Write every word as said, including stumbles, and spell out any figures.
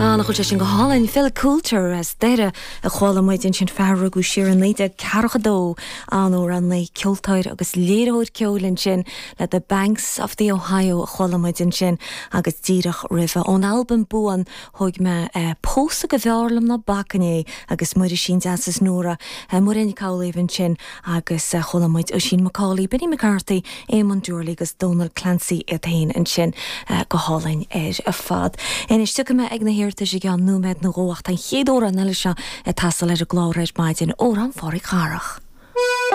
Ah, nach bhfuil sé sin go hálainn Phil Coulter as Doire a chuala muid ansin fear a rugadh siar i naoi déag ceathracha dó amhránaí ceoltóir agus léiritheoir ceoil ansin le The Banks of the Ohio a chuala muid ansin agus díreach roimhe ón albam Buan thóg mé eh, Pósadh go bhfearr liom ná bacfainn é agus Muirisín Deas is Nóra eh, Muireann Nic Amhlaoibh ansin agus eh, chuala muid Oisín McCauley, Benny McCarthy, Eamon Doorley agus Donal Clancy iad féin ansin eh, go hálainn ar fad. Anois tiocfaidh mé ag na hiarratais i gceann nóiméad nó dhó ach tá an chéad amhrán eile seo ag teastáil ar an gclár ar maidin amhrán Phádraic Dharach.